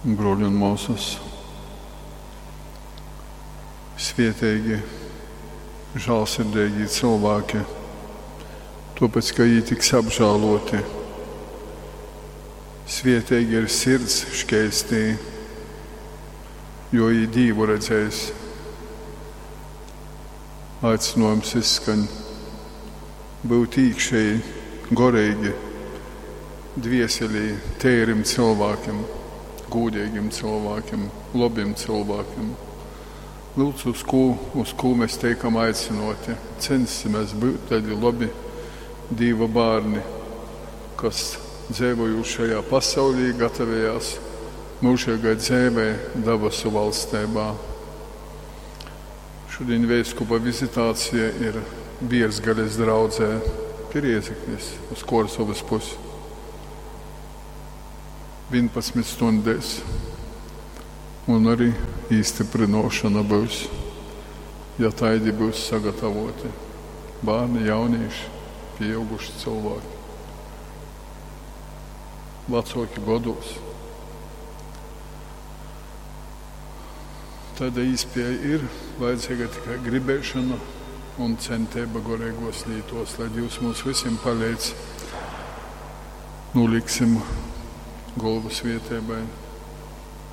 Bruoļi un muosys, svieteigi, žālsirdeigī cylvāki, tuopec, ka jī tiks apžāluoti. Svieteigi ir sirds škeistī, jo jī Dīvu redzēs. Aicynuojums izskaņ byut īkšeji, goreigi, dvieselī teirim cylvākim, gūdeigim cylvākim, lobim cylvākim. Lūdzu, uz kū, uz kū mēs teikam aicynuoti? Censsimēs byut taidi lobi Dīva bārni, kas dzeivojūt šajā pasaulī, gatavejās myužeigai dzeivei dabasu valsteibā. Šudiņ veiskupa vizitācija ir Bierzgales draudzē pi Riezeknis uz Kuorsovys pusi. 11 stundēs. Un arī īstyprynuošona byus, ja taidi byus sagatavoti. Bārni, jaunīši, pieauguši cylvāki, vacuoki godūs. Taida īspēja ir, vajadzīga tikai gribēšana un centeiba goreigos lītos, lai Dīvs mums vysim paleidz. Nūliksim golvu svieteibai.